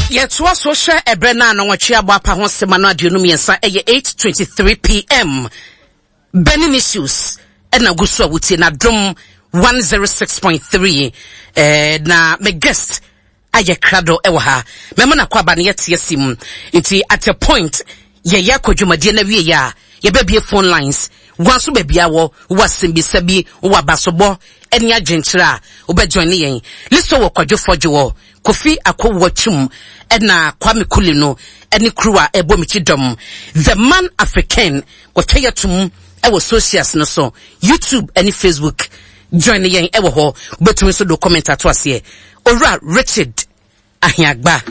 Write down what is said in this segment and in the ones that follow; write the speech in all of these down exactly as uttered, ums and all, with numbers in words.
Yɛtoa so hwɛ ɛberɛ no a nɔnwɔtwe abɔ apa ho sɛma no aduonu mmiɛnsa, ɛyɛ eight twenty-three p m. Burning Issues ɛna gu so a wotie na Dom one oh six point three. eh, na me guest ayɛ krado ɛwɔ ha, mɛma no akɔ aba no yɛte asi mu. Nti at a point yɛyɛ akɔ dwumadie no awie a, yɛbɛbie phone lines wa so. Baabi a wɔ wɔ asɛmbisa bi, wɔ abasobɔ ɛne adwenkyerɛ a, wobɛjoin ne yɛn. Listo wɔ Kwadwo Fɔdwo, wɔ Kofi Akɔwɔ Twum, ɛna Kwame Kuli no ɛne crew a ɛbɔ mekyi dɔm, The Man African. Wɔtwa yɛ tom ɛwɔ socials no so, YouTube ɛne Facebook. Join yɛn ɛwɔ hɔ. Wobɛtumi nso do comment ato aseɛ. Owura Richard Ahiagba,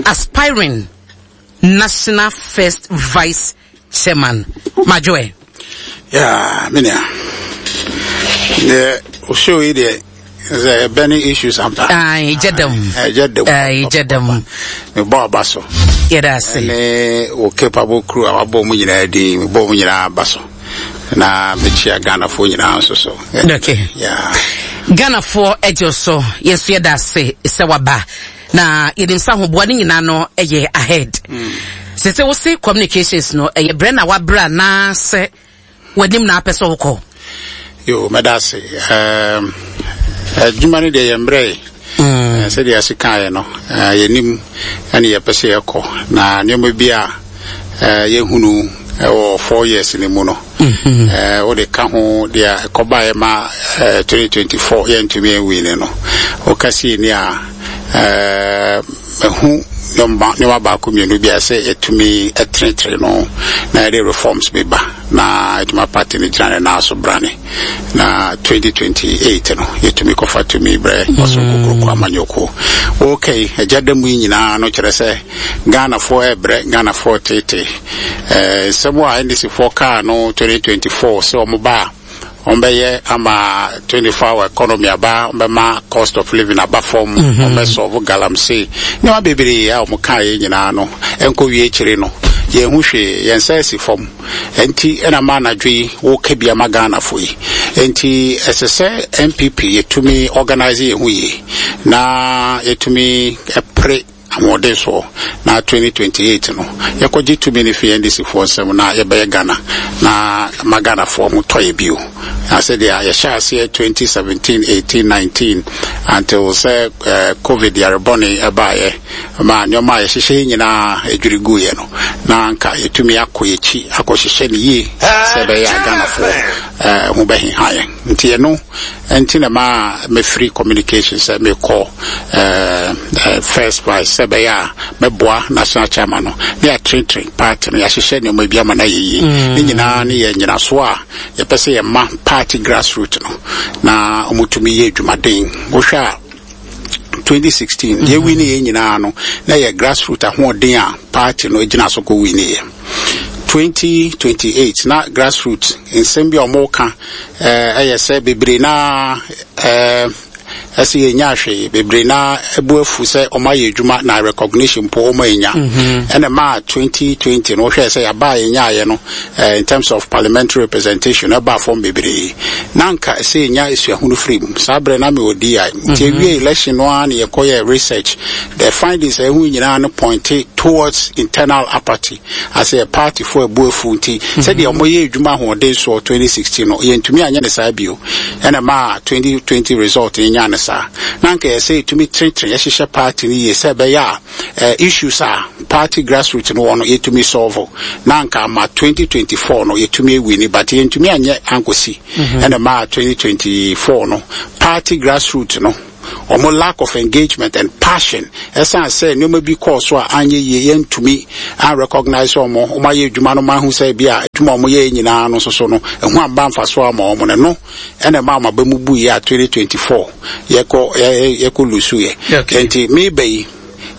aspiring national first vice chairman, madwoɛ. Yeah, me nua. Deɛ o show yi deɛ sɛ burning issues ampa. Ai, gye dam. Ɛgye dam. Ai, gye dam. Mebɔ aba so. Yɛda ase. Ne wo capable crew a wabɔ mu nyinaa din, mebɔ mu nyinaa aba so. Na mekyia Ghanafoɔ nyinaa nso so. Okay. Yeah. Ghanafoɔ agye so, yɛn nso yɛda ase sɛ waba, na yɛnim sɛ ahoboa no nyinaa no ɛyɛ ahead sɛ sɛ wose communications no ɛyɛ berɛ na wabrɛ anaasɛ w'anim na apɛ sɛ wokɔ. Yo, mɛda ase. Um, adwuma no deɛ, yɛ mmerɛ yi. Eh, sɛdeɛ ase kaeɛ no, eh, yɛnim ɛne yɛpɛ sɛ yɛkɔ na nneɛma bi a eh, yɛhunu ɛwɔ four years no mu no, eh, wode ka ho deɛ ɛkɔbaeɛ ma eh, twenty twenty-four yɛntumi anwini no, woka sei ni a, eh, ɛhu nneɛma nneɛma baako mmienu bi a sɛ yɛtumi ɛtenetene no na yɛde reforms bi ba na yɛtumi party no gyina ne nan so brane na twenty twenty-eight no yɛtumi kɔfa tumi brɛ ɔso kokoroko amanyɔkuo. Okay, agya da mu yi nyinaa no kyerɛ sɛ Ghanafoɔ ɛbrɛ, Ghanafoɔ tete. ɛɛ nsɛm a N D C foɔ kaa no twenty twenty-four sɛ ɔmo ba a, ɔmbɛyɛ ama twenty-four hour economy aba, ɔmbɛma cost of living aba fam, ɔmbɛsolve galamsey, nneɛma bebree a ɔmo kaa yɛ nyinaa no, ɛnkɔ wie akyire no, yɛn ho hwee, yɛn nsa asi fam. Nti ɛna ma anadwo yi wɔka bi ama Ghanafoɔ yi. Nti ɛsɛ sɛ N P P yɛtumi organise yɛn ho yie na yɛtumi ɛpere ahoɔden soɔ na twenty twenty-eight no yɛkɔgye tumi no fi N D C foɔ nsɛm na yɛbɛyɛ Ghana na ma Ghanafoɔ ho tɔ yɛ bio. Na sɛdeɛ yɛhyɛ aseɛ twenty seventeen, eighteen, nineteen until sɛ eh, COVID yarebɔne ɛbaeɛ ma nneɛma a yɛhyehyɛ yi nyinaa adwiri guiɛ no, na anka yɛtumi akɔ yɛkyi akɔhyehyɛ no yie sɛ ɛbɛyɛ a Ghanafoɔ eh, ho bɛheha yɛn. Nti ɛno nti na ma mɛfiri communication sɛ mekɔ eh, eh, first vice sɛ ɛbɛyɛ a mɛboa national chairman no ne yɛatenetene party no, yɛahyehyɛ nneɛma bi ama no ayɛ yie. Ne nyinaa ne yɛ nyinasoɔ a yɛpɛ sɛ yɛma party grassroot no na ɔmotumi yɛ adwumaden. Wohwɛ a, twenty sixteen deɛ win yɛ nyinaa no na yɛ grassroot ahoɔden a party no gyina so kɔ win yɛ. twenty twenty-eight na grassroot nsɛm bi a ɔmo ka ɛyɛ sɛ bebree na ɛɛ ɛsɛ yɛnya ahwee, bebree na ɛbu afu sɛ ɔmo ayɛ adwuma na recognition mpo ɔmo anya. Ɛna maa twenty twenty no, wohwɛ sɛ yɛaba a yɛnyaayɛ no, eh, in terms of parliamentary representation ɛbaa fam bebree. Na nka ɛsɛ yɛnya esuahunu firi mu. Saa berɛ na mewɔ D I, nti ewie election no ara na yɛkɔyɛ research. The findings a ɛho nyinaa no point towards internal apathy asɛ party fo ɛbu afu. Nti sɛdeɛ ɔmo yɛ adwuma ahoɔden soɔ twenty sixteen no, yɛntumi anyɛ ne saa bio. Ɛna maa twenty twenty result no nya ne saa. Na nka yɛsɛ yɛtumi tenetene yɛhyehyɛ party no yie sɛ ɛbɛyɛ a eh, issues a party grassroots no wɔ no yɛtumi solve, na nka ama twenty twenty-four no yɛtumi awin, but yɛntumi anyɛ ankɔsi. Ɛna maa twenty twenty-four no party grassroots no, ɔmo lack of engagement and passion, ɛsan sɛ nneɛma bi kɔɔ so a anyɛ yie, yɛntumi an recognize ɔmo. Ɔmo ayɛ adwuma no ma ahu sɛ bi a adwuma a ɔmo yɛ nyinaa no nso so no ɛho amba mfa so ama ɔmo no no ɛna ɛma ɔmo aba mu bu yɛ a twenty twenty-four yɛkɔ yɛ yɛkɔ lose yɛ. Okay. Nti meba yi,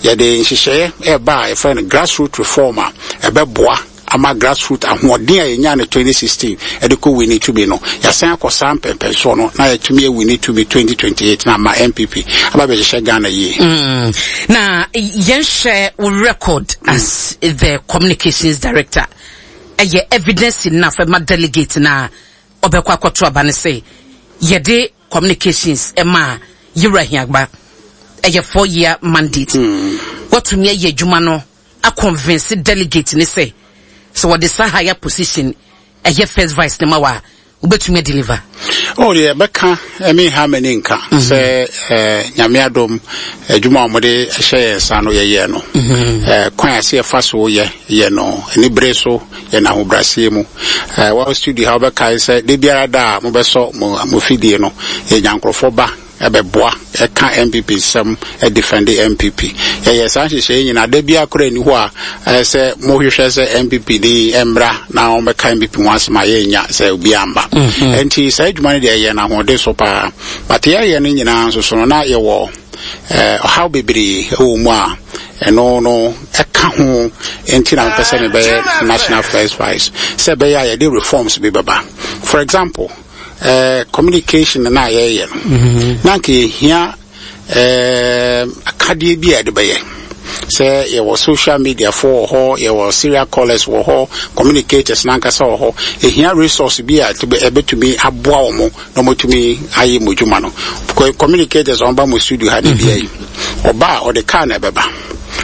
yɛde nhyehyɛeɛ ɛba a yɛfrɛ no grassroot reform a ɛbɛboa ama grassroot ahoɔden a yɛnya no twenty sixteen ɛde kɔ win tumi no, yɛasan akɔ saa mpɛmpɛnsoɔ no na yɛtumi awin tumi twenty twenty-eight na ama N P P aba bɛhyehyɛ Ghana yie. Mm. Na yɛnhwɛ wo record as the communications director, ɛyɛ evidence enough ɛma delegate na ɔbɛkɔ akɔto aba no sɛ yɛde communications ɛma Yɛwura Ahiagba, ɛyɛ four year mandate. Mm. Watumi ayɛ adwuma no aconvince delegate ne sɛ sɛ wɔde saa higher position ɛyɛ first vice ne ma wa, wobɛtumi adeliver? Oh, deɛ bɛka ɛme ha m'ani nka mhm. sɛ eh, Nyame adom, adwuma a wɔde hyɛ yɛn nsa no, yɛyɛ no mhm. eh, kwan a sɛ yɛfa so yɛ yɛ no ani bere so, yɛ no ahobrɛaseɛ mu. eh, wɔ studio ha, wobɛkae sɛ da biara da a mobɛsɔ mo fidie no, yɛnya nkurɔfoɔ ba ɛbɛboa ɛka N P P nsɛm, ɛdefend N P P. Yɛyɛ saa nhyehyɛeɛ nyinaa. Da biara koraa ni hɔ a ɛyɛ sɛ mohwehwɛ sɛ N P P ni mmra na wɔbɛka N P P ho asɛm a yɛnya sɛ obi amba mhm. Nti saa adwuma no deɛ, yɛyɛ no ahoɔden so paa, but yɛyɛ no nyinaa nso so no, na yɛwɔ ɔhaw bebree ɛwɔ mu a ɛno no ɛka ho. Nti na mepɛ sɛ mebɛyɛ national first vice sɛ ɛbɛyɛ a yɛde reforms bi bɛba. For example, uh, communication na yɛyɛ no mm-hmm. na nka yɛhia uh, akadeɛ bi a yɛde bɛyɛ sɛ yɛwɔ social media fo wɔ hɔ, yɛwɔ serial callers wɔ hɔ, communicators nankasa wɔ hɔ. Ehia resource bi a ɛbɛtumi aboa wɔn na wɔtumi ayɛ mo dwuma no. Communicators wɔn ba mo studio ha de bia yi, ɔba a, ɔde car na ɛbɛba.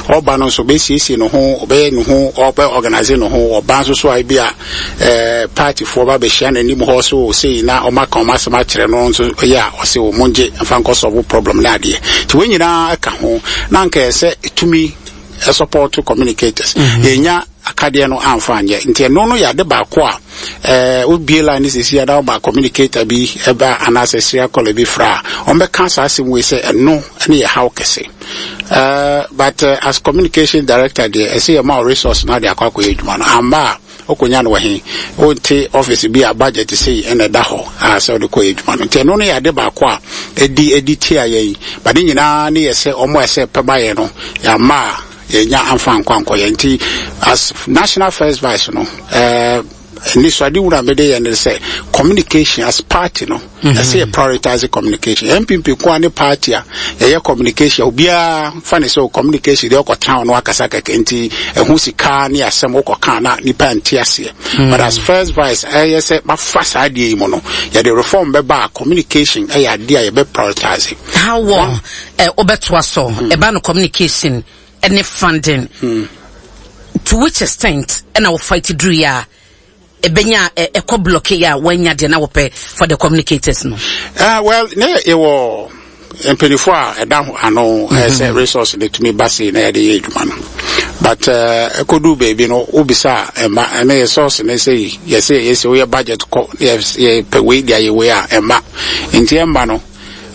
Ɔba no nso, ɔbɛsiesie ne ho, ɔbɛyɛ ne ho, ɔbɛ organise ne ho. Ɔba nso so a, ebi a ɛɛ partyfoɔ ba bɛhyia n'anim hɔ so sei na ɔmo aka ɔmo asɛm akyerɛ no nso yɛ a, ɔsɛ ɔmo ngye nfa nkɔ solve problem ne adeɛ. Nti wɔn nyinaa ka ho na nka yɛ sɛ tumi support communicators mm -hmm. Yɛnya akadeɛ no amfa anyɛ. Nti ɛno no yɛ ade baako a ɛɛ wobie line ne sisi ada ɔba communicator bi ɛba anaasɛ serial caller bi fra a, ɔmbɛka saa asɛm wei sɛ ɛno ɛne yɛ haw kɛse. uh, but uh, as communication director deɛ, ɛsɛ yɛ ma o resource na de akɔ akɔyɛ adwuma no. Amba a, wokɔnya no wɔ he? Wonte office bi a budget sei ɛna ɛda hɔ a sɛ wode kɔyɛ adwuma no. Nti ɛno no yɛ ade baako a ɛdi ɛdi tia yɛn. But ne nyinaa ne yɛ sɛ ɔmo a ɛsɛ pɛba yɛ no, yɛama a yɛnya amfa nkɔ ankɔyɛ. Nti as national first vice no, ɛɛ nisuade wura mede yɛ ne sɛ communication as party no, ɛsɛ yɛ prioritize communication. N P P koa ne party a yɛyɛ communication, obiara fa ne sɛ communication deɛ, ɔkɔtena ɔno akasa kɛkɛ. Nti ɛho sika ne asɛm wokɔka na nipa nte aseɛ. But as first vice, ɛyɛ sɛ mafa saa adeɛ yi mu no, yɛde reform bɛba a, communication ɛyɛ adeɛ a yɛbɛ prioritize. How wɔ ɛ wobɛtoa so ɛba no, communication ɛne funding, to which extent ɛna wo fight duru yɛ a ɛbɛnya ɛkɔ block yɛ a wɔanya deɛ na wɔpɛ for the communicators no? Uh, well, ne yɛwɔ mpanyinfoɔ a ɛda ano sɛ resource de tumi ba sei na yɛde yɛ adwuma no, but ɛkɔduu baabi no, wobisa a, ɛma ɛne yɛ source ne sɛ yɛsɛ yɛsɛ woyɛ budget kɔ, yɛpɛ wei de ayɛ wei a, ɛma nti ɛmma no.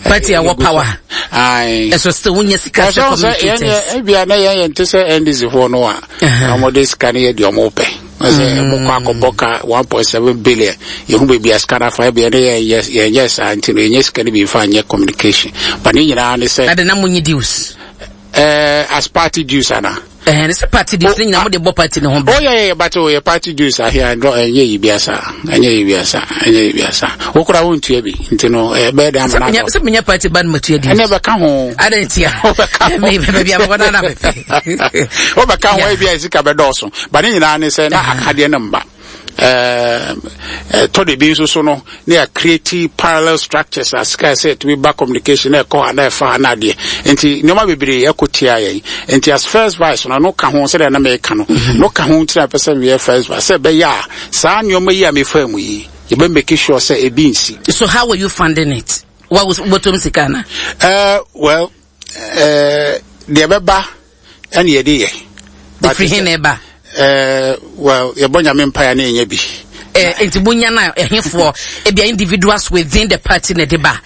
Party a wɔ power ɛso still wonya sika sɛ communicators. Ebia na yɛn yɛn te sɛ N D C foɔ no a, wɔde sika no yɛ deɛ wɔn pɛ sɛ mokɔ akɔbɔ ka one point seven billion, yɛhu baabi a sika no afa. Ebia ne yɛn yɛn yɛ saa nti no, yɛnyɛ sika no bi nfa nyɛ communication, but ne nyinaa ne sɛ. Ade na mo nye dues? Ɛɛ as party dues ana? Ɛhɛn, sɛ party dues ne nyinaa mo de bɔ party ne ho bra. Oh yeah yeah but oh yɛ party dues ahia ndɔ, ɛnyɛ yi bi asa, ɛnyɛ yi bi asa, ɛnyɛ yi bi asa. Wokura wo ntua bi nti no, ɛbɛyɛ dɛ ama na. Sɛ menya party ba no, ma tua dues. Ɛnɛ bɛka ho. Ada ntia. Wobɛka ho. Baabi a mekɔ na na mepɛ. Wobɛka ho, ebi a sika bɛdɔɔso, but ne nyinaa ne sɛ na akadeɛ no mba. Ɛtɔ de bi nso so no, ne yɛ create parallel structures a sika sɛ ɛtumi ba communication na ɛkɔ ha na ɛfa ha na adeɛ. Nti nneɛma bebree ɛkɔ tia yɛn. Nti as first vice no, no ka ho sɛdeɛ na mɛka no no ka ho. Nti na pɛ sɛ meyɛ first vice sɛ ɛbɛyɛ a saa nneɛma yi a mefa mu yi, yɛbɛ make sure sɛ ebi nsi. So how were you funding it? Wa wotom sika na? Uh, well, uh, deɛ bɛba ɛne yɛde yɛ. Ɛfiri he na ɛba? Uh, well, yɛbɔ Nyame mpaeɛ na ɛnyɛ bi. Eh, nti monya no a, ɛhefoɔ, ebia individuals within the party na ɛde ba,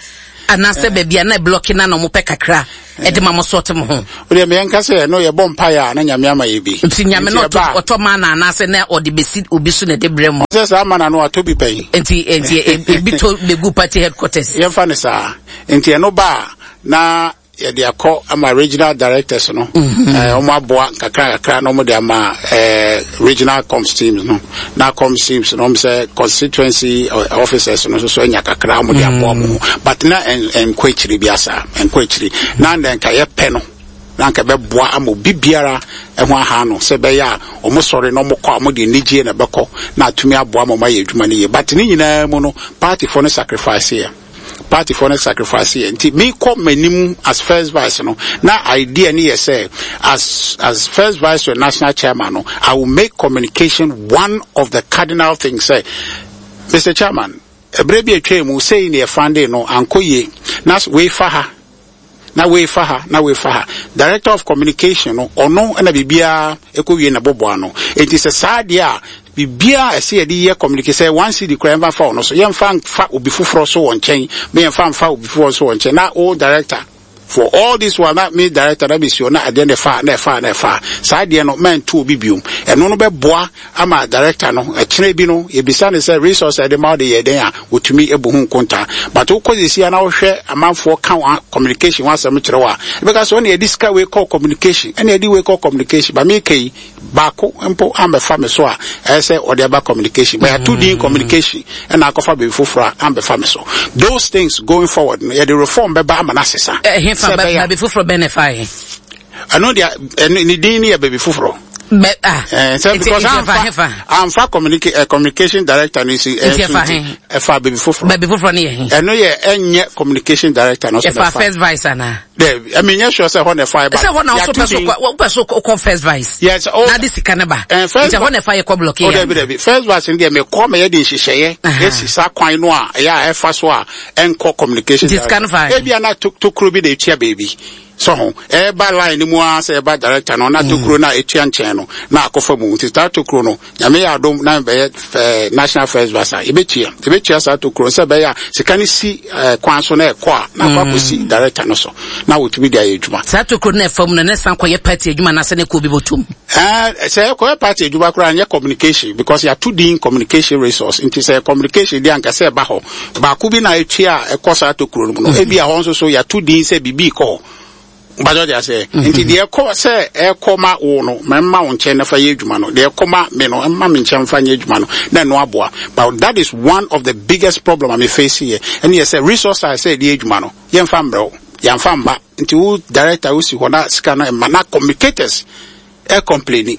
anaasɛ baabi a na block na na ɔmopɛ kakra ɛde ma mo sɔɔte mo ho? Wodeɛ meyɛnka sɛ no, yɛbɔ mpaeɛ a na Nyame ama yɛ bi. Nti Nyame no ɔtɔ ma na anaasɛ na ɔde bɛsi obi so na ɛde brɛ mo? Sɛ saa ma na no atɔ bi pɛn. Nti nti ebi to bɛgu party headquarters? Yɛmfa ne saa. Nti ɛno ba a, na yɛde akɔ ama regional directors no, ɛɛ wɔn aboa kakra kakra na wɔn de ama ɛɛ regional comms teams no, na comms teams no, wɔn sɛ constituency officers no nso so anya kakra, wɔn de aboa wɔn ho. But na nkɔ akyiri bi asa, nkɔ akyiri na nka yɛpɛ no na nka bɛboa ama obi biara ɛho aha no sɛ ɛbɛyɛ a wɔn sɔre na wɔn kɔ a, wɔn de anigye na ɛbɛkɔ na atumi aboa ama wɔn ayɛ adwuma no yie. But ne nyinaa mu no, partyfoɔ no sacrifice yɛ, partyfoɔ no sacrifice yɛ. Nti mekɔ m'anim as first vice no, na idea ne yɛ sɛ as as first vice to national chairman no, I will make communication one of the cardinal things. Sɛ, Mister Chairman, ɛberɛ bi atwa mu sei ne yɛfande no ankɔ yie, na wei fa ha, na wei fa ha, na wei fa ha. Director of communication no, ɔno ɛna biribiara ɛkɔ wie na bɔbɔ ano. Enti sɛ saa deɛ a, biribiara ɛsɛ yɛde yɛ communication, sɛ one cedi koraa, yɛmfa fa ɔno so, yɛmfa nfa obi foforɔ so wɔ nkyɛn, ma yɛmfa nfa obi foforɔ so wɔ nkyɛn. Na o director for all this while, na me director na bɛsi hɔ na adeɛ no ɛfa na ɛfa na ɛfa saa adeɛ no, mɛnto obi biom. Ɛno no bɛboa ama director no, ɛkyerɛ bi no, yɛbisa ne sɛ resource a yɛde ma wo de yɛ dɛn a, wɔtumi ebu ho nkonta. But wokɔ sisi a na wohwɛ amanfoɔ ka wɔn communication ho asɛm kyerɛ wo a, ɛbɛka sɛ ɔne yɛde sika wei kɔ communication, ɛne yɛde wei kɔ communication ba. Meka yi baako mpo ambɛfa me so a ɛyɛ sɛ ɔde aba communication, but yɛato din communication ɛna akɔfa baabi foforɔ a ambɛfa me so. Those things going forward no, yɛde reform bɛba ama no asesa. Ɛhefa? Sɛ ɛbɛyɛ a- Baabi foforɔ bɛn na ɛfa yɛ? Ɛno deɛ, ɛno ne din no yɛ baabi foforɔ. Bɛ ah. Eh, sɛ Nti- because nti ɛfa amfa hefa? Amfa communica eh, communication director no si. Nti ɛfa he? Ɛfa baabi foforɔ. Baabi foforɔ no yɛ he? Ɛno yɛ, ɛnyɛ communication director no so. Ɛfa Na ɛfa. first vice anaa? Dɛ, ɛmi nyɛ sure sɛ hɔ na ɛfa ɛba. Sɛ hɔ na ɔso Yɛato pɛ so din. kɔ, wopɛ so kɔ first vice Yes, oh. na de sika ne ba. Eh, first Nti ɛhɔ na ɛfa yɛ kɔ block Oh, yɛ? dabi dabi, first vice no deɛ, mekɔ ma yɛde nhyehyɛeɛ Aha. esi saa kwan no a ɛyɛ a ɛfa so a ɛnkɔ communication. Nti sika no fa he? Ebi ana tokuro bi na etua baabi so ho, ɛba line no mu ara sɛ ɛba director no, na tokuro no a etua nkyɛn no na akɔfa mu. Nti saa tokuro no, Nyame yɛ adom na bɛyɛ fɛ national first vice a, yɛbɛtua yɛbɛtua saa tokuro no sɛ ɛbɛyɛ a sika no si ɛɛ kwan so na ɛkɔ a, na akɔ akɔsi director no so na wɔtumi de ayɛ adwuma. Saa tokuro no na ɛfa mu no, ne san kɔyɛ party adwuma anaasɛ ne kɔ obi bɔtom? Ɛɛ, sɛ ɛkɔyɛ party adwuma koraa, nyɛ communication, because yɛato din communication resource. Nti sɛ communication deɛ, anka sɛ ɛba hɔ baako bi na etua a ɛkɔ saa tokuro no mu no, ebi a hɔ nso so yɛato din sɛ biribi kɔ hɔ gbadɔ de asɛ. Nti deɛ ɛkɔ sɛ ɛkɔ ma wo no, mɛma wo nkyɛn na fa yɛ adwuma no. Deɛ ɛkɔ ma me no, ɛma me nkyɛn fa nyɛ adwuma no na ɛno aboa. But that is one of the biggest problem a me face yɛ, ɛne yɛ sɛ resource a sɛ yɛde yɛ adwuma no, yɛmfa mbrɛw, yɛmfa mma. Nti wo director wosi hɔ na sika no ɛma na communicators ɛ complain,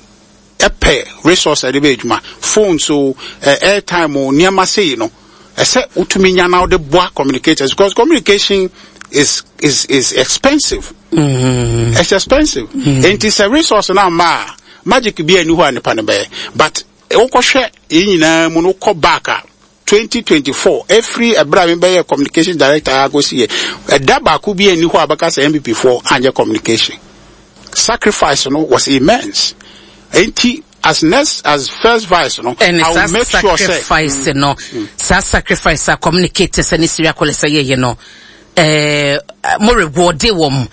ɛpɛ resource a yɛde bɛ adwuma, phone so, ɛ airtime o, nneɛma sei no, ɛsɛ wotumi nya na wode boa communicators, because communication is is is expensive. mm. It's expensive. Nti sɛ resource no amma a, magic bi ani hɔ a nipa no bɛyɛ. But wokɔhwɛ yɛn nyinaa mu no, wokɔ back a, twenty twenty-four, ɛfiri ɛberɛ a mebɛyɛ communication director akɔsi yɛ, ɛda baako bi ani hɔ a bɛka sɛ N P P foɔ anyɛ communication. Sacrifice no was immense. Nti as next as first vice no, ɛne I saa will make sure sɛ sacrifice no, saa sacrifice a communicators ne Syria kɔlɛ sɛ yɛyɛ no, ɛɛ mo reward wɔn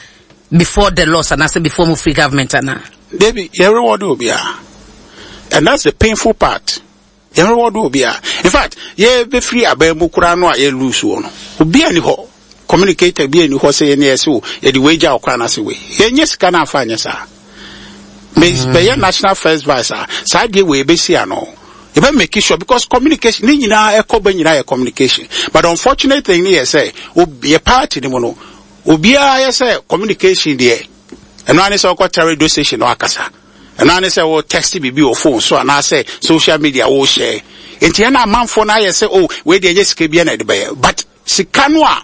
before the loss anaasɛ before mo free government ana? Dabi, yɛn reward obiara, and that's the painful part. Yɛn reward obiara. In fact, yɛ bɛfiri aban mu koraa no a yɛ lose wɔ no, obiara ni hɔ, communicator bi ani hɔ sɛ yɛn yɛ sɛ o yɛde wei gya ɔkora n'ase wei. Yɛnyɛ sika no afa anyɛ saa. Me bɛyɛ national first vice a, saa deɛ wei bɛsi ano, yɛbɛ make sure, because communication ne nyinaa ɛkɔ bɛ nyinaa yɛ communication. But unfortunate thing ne yɛ sɛ yɛ party ne mu no, obiara yɛ sɛ communication deɛ, ɛno ani sɛ ɔkɔ radio station no akasa, ɛno ani sɛ wɔ text biribi wɔ phone so anaasɛ social media wɔ share. Nti ɛna amanfoɔ no ayɛ sɛ, oh, wei deɛ ɛnyɛ sika bi na ɛde bɛyɛ. But sika no a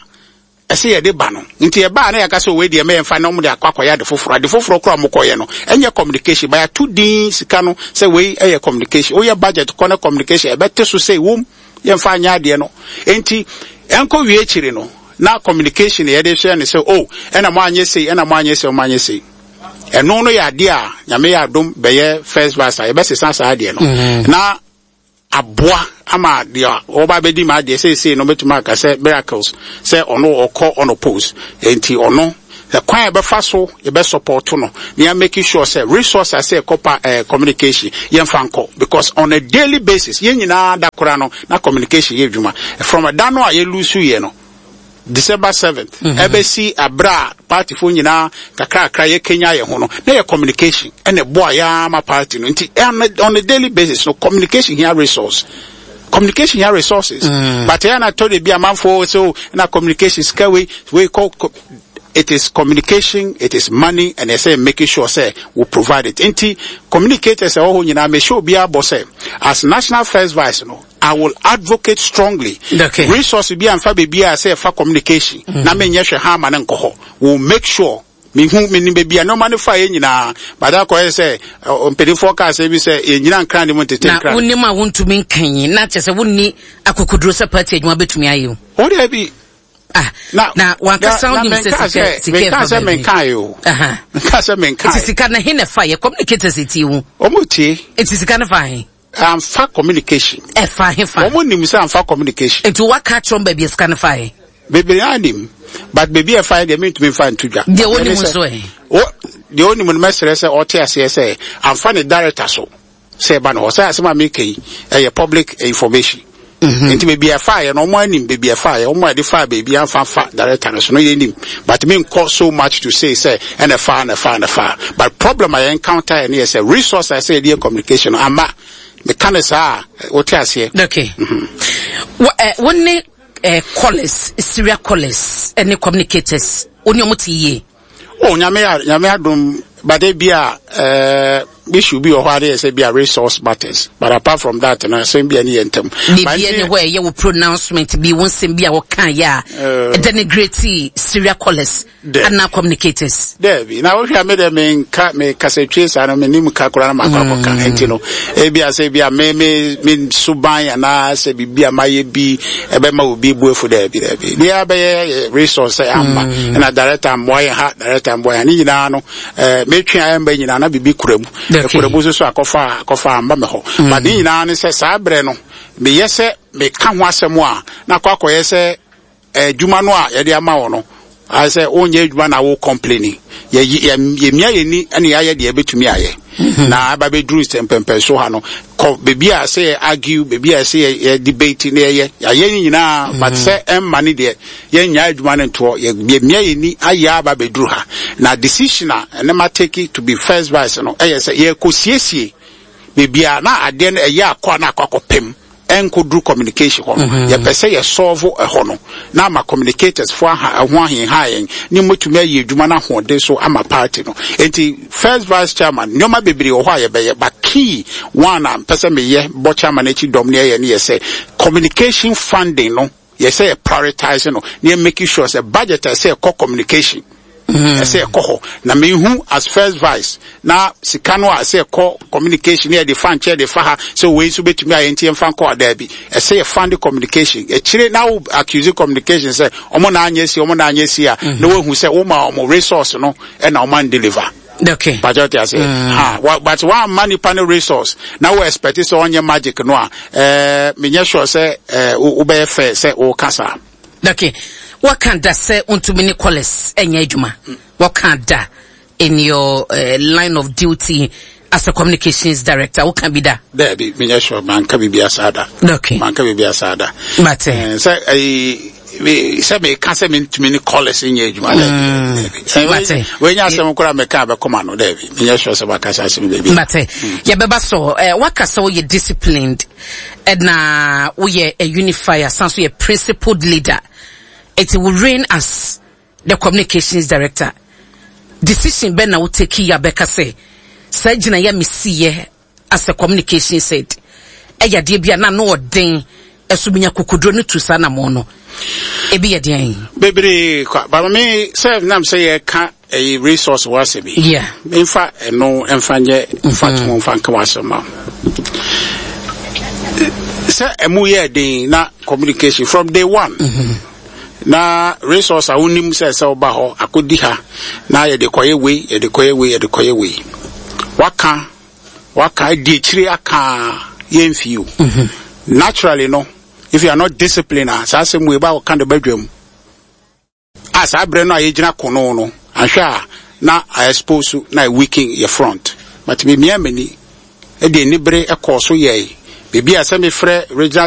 ɛsɛ yɛde ba no, nti ɛbaa na yɛka sɛ wei deɛ mɛyɛmfa na ɔmo de akɔ akɔyɛ ade foforɔ. Ade foforɔ koraa ɔmo kɔyɛ no ɛnyɛ communication, ba yɛato din sika no sɛ wei ɛyɛ communication. Woyɛ budget kɔ ne communication ɛbɛte so sɛ wom yɛmfa anyɛ adeɛ no. Nti ɛnkɔ wie akyiri no na communication yɛde hyɛ ne sɛ, oh, ɛna mo anyɛ sei, ɛna mo anyɛ sei, ɔmo anyɛ sei. Ɛno no yɛ adeɛ a Nyame yɛ adom bɛyɛ first vice a, yɛbɛsesa saa adeɛ no mm-hmm. na aboa ama deɛ ɔba bɛdi ma adeɛ seesei no bɛtumi aka sɛ miracles sɛ ɔno ɔkɔ unopposed. Nti ɔno kwan a yɛbɛfa so yɛbɛ support no na yɛ make sure sɛ resource a sɛ ɛkɔpa eh, communication yɛmfa nkɔ, because on a daily basis yɛn nyinaa da kora no na communication yɛ adwuma. From ɛda no a yɛ lose yɛ no, December seventh, ɛbɛsi abere a partyfoɔ nyinaa kakrakra yɛ kenya yɛn ho no, na yɛ communication ɛna ɛboa yɛ ama party no. Nti on a, on a daily basis no, communication hia resource, communication hia resources. mm. But ɛyɛ na tɔ de bi amanfoɔ so na communication sika wei wei kɔ. It is communication, it is money, and ɛsɛ making sure sɛ we provide it. Nti communicators ɛwɔ hɔ nyinaa, make sure obiara bɔ sɛ as national first vice no, I will advocate strongly. Okay. Resource bi anfa beebi a sɛ ɛfa communication mm. na menyɛ hwɛ ha ama ne nkɔ hɔ. We will make sure Mehu, menim baabi a nneɛma no fa yɛ nyinaa, but akɔyɛ sɛ mpanimfoɔ kaa sɛ bi sɛ yɛnyina nkran ne mu ntete nkran. Na wonim a wontumi nkan na kyerɛ sɛ wonni akokoduro sɛ party adwuma bɛtumi ayɛ o. O deɛ bi. Ah, na na wankasa wonim sɛ sika sika ɛfa baabi. Menka o. Menka sɛ menka. Nti sika no he na ɛfa yɛ communicators tie wo? Ɔmo tie. Nti sika no fa he? Amfa communication. Ɛfa he fa? Ɔmo nim sɛ amfa communication. Nti waka akyerɛ baabi a sika no fa he? Bebree anim, but baabi a ɛfa deɛ, mentumi mfa nto dwa. Deɛ wonim nso ɛ? Deɛ onim no, mɛsrɛ sɛ ɔte aseɛ sɛ amfa ne director so sɛ ɛba no hɔ sɛ asɛm a meka yi ɛyɛ public information. Nti baabi a ɛfa yɛ no, ɔmo anim baabi a ɛfa yɛ, ɔmo a yɛde fa baabi amfa fa director no so no, yɛnim, but menkɔ so much to say sɛ ɛna fa ɛna fa ɛna fa. But problem a yɛn encounter yɛ no yɛ sɛ resource a ɛsɛ yɛde yɛ communication no ama meka ne saa a, wote aseɛ. Okay. Wo ne eh, callers, serial callers ɛne communicators, wo ne ɔmo te yie? Oh, Nyame Nyame adom, but ebi a eh, issue bi wɔ hɔ ade yɛ sɛ bi a resource matters, but apart from that no, asɛm bi a ne yɛ ntɛm. Biribi ne hɔ a ɛyɛ wo pronouncement bi, wo nsɛm bi a wɔka yɛ a denigrate serial callers anaa communicators? Daabi, na wohwɛ a, me dɛ menka mekasa twie saa no, menim ka koraa na makɔ akɔka. Nti no ebi a sɛ bi a me me me suban anaa sɛ biribi a mayɛ bi ɛbɛma obi bu afu, daabi, daabi. Deɛ abɛyɛ resource sɛ ama ɛna director mmoa yɛn ha, director mmoa yɛn ne nyinaa no, ɛɛ metwe a ɛmba nyinaa na biribi kura mu, ɛkura mu nso so akɔfa akɔfa amba me hɔ. But ne nyinaa ne sɛ saa berɛ no meyɛ sɛ meka ho asɛm a, na akɔ akɔyɛ sɛ adwuma no a yɛde ama wɔ no ayɛ sɛ wonyɛ adwuma na wo complaining. Yɛmia yɛni ɛne yɛayɛ deɛ yɛbɛtumi ayɛ na aba bɛduru sɛ mpɛmpɛn so ha no kɔ baabi a sɛ yɛ argue, baabi a sɛ yɛ debate ne yɛyɛ yɛayɛ ne nyinaa, but sɛ ɛmma ne deɛ yɛnya adwuma no ntoɔ, yɛmia yɛni ayɛ aba bɛduru ha. Na decision a ɛne ma take to be first vice no ɛyɛ sɛ yɛkɔ siesie baabi a na adeɛ no ɛyɛ akɔ a na akɔ akɔpem ɛnkɔduru communication hɔ no. Yɛpɛ sɛ yɛ solve ɛhɔ no na ama communicators fo aha ɛho ahenha yɛn ne motumi ayɛ adwuma no ahoɔden so ama party no. Nti first vice chairman, nneɛma bebree wɔ hɔ a yɛbɛyɛ, but key one a mpɛ sɛ meyɛ bɔ chairman akyi dɔm ne ɛyɛ ne yɛ sɛ communication funding no, yɛ sɛ yɛ prioritize no na yɛ making sure sɛ budget a ɛsɛ ɛkɔ communication ɛsɛ ɛkɔ hɔ. Na mehu as first vice na sika no a ɛsɛ ɛkɔ communication ne yɛde fa nkyɛn de fa ha sɛ wei nso bɛtumi ayɛ, nti yɛmfa nkɔ adaa bi ɛsɛ yɛ fund communication akyire na wo accuse communication sɛ ɔmo na anyɛ si, ɔmo na anyɛ si a, na woahu sɛ woma ɔmo resource no ɛna ɔmo an deliver. Okay pàtó ti ase ha, but wɔn nipa no resource na wo expect sɛ ɔnyɛ magic no a, ɛɛ menyɛ sure sɛ ɛɛ wobɛyɛ fair sɛ wɔka saa. Okay, wɔka da sɛ ntumi ne callers ɛnyɛ adwuma, wɔka da in your uh, line of duty as a communications director, wɔka bi da? Dɛbi, menyɛ sure, manka biribi asa da. Okay manka biribi asa da. But sɛ ɛyi sɛ meka sɛ mentumi ne callers nyɛ adwuma, dɛbi, wɔnyɛ asɛm koraa meka bɛkɔma no, dɛbi, menyɛ sure sɛ maka sɛ asɛm baabi. Mate, yɛbɛba so. eh, waka sɛ woyɛ disciplined ɛna woyɛ a unifier, san so yɛ principled leader. It will reign as the communications director, decision bɛn na wo take yi abɛka sɛ saa gyina yɛ mesiyɛ as a communications head ɛyɛ adeɛ bi a na no ɔden ɛso binya kokoduro no tu saa namɔ no, ebi yɛ deɛn? Bebree kwa, but me sɛ nam sɛ yɛka ɛyi resource wɔ asɛm yi, yeah mfa ɛno mfa nyɛ mfa to mfa nka wɔ asɛm ma sɛ ɛmu yɛ den na communication from day one mm -hmm. na resource a wonim sɛ sɛ woba hɔ akɔdi ha na yɛde kɔyɛ wei, yɛde kɔyɛ wei, yɛde kɔyɛ wei, waka waka adi akyire aka yɛmfie o mm-hmm. Naturally no, if you are not disciplined a, saa asɛm wei ba wɔka de badwam a, saa berɛ no a yɛgyina kono no ahwɛ a na a expose na weaken yɛ front. But memia m'ani ɛde anibere ɛkɔɔ so yɛe biribi a sɛ mefrɛ regional